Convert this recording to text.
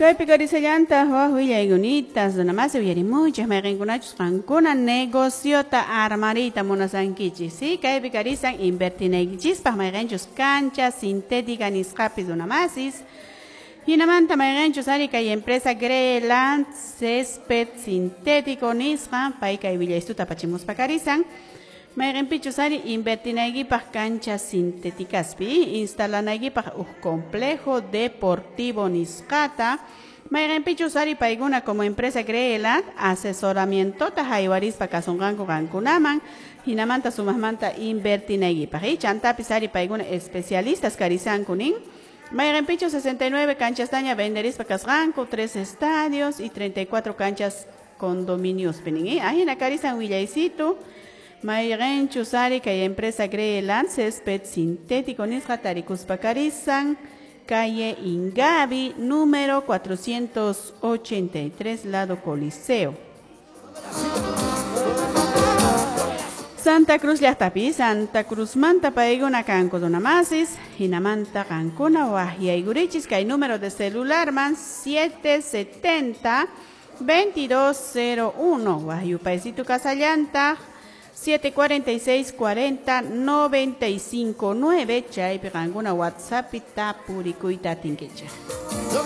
Kaypi karisallanta waj willaykunitas runamasi uyarimuychik mayqinkunachus qankuna negociota armariyta munasankichik, sí? Kaypi karisan invertinaykichispaq mayqinchus cancha sintética nisqapi runamasis. Hinamanta mayqinchus ari kay empresa Greland césped sintético nisqa pay kay willaystuta apachimuspa karisan. Mayqinpichus ari invertinaykipaq cancha sintéticaspi instalanaykipaq uj complejo deportivo nisqata. Mayqinpichus ari paykuna como empresa Greland asesoramientota haywarispa kasunqanku qankunaman hinamanta sumaqmanta invertinaykipaq. Chantapis ari paykuna especialistas karisanku nin. Mayqinpichus 69 canchastaña venderispa kasqanku, 3 estadios y 34 canchas condominios nin. Ahina karisan willaysitu. Mayqinchus ari kay empresa Greland césped sintético nisqa tarikuspa karisan calle Ingavi número 483 lado Coliseo. Santa Cruz llaqtapi, Santa Cruz manta paykuna kanku runamasis, hinamanta qankuna waqyaykurichis kay número de celular man 770 2201 waqyupaysitu kasallantaq 746 40 95 9 chaypi qankuna WhatsApp tapurikuyta atinkichik.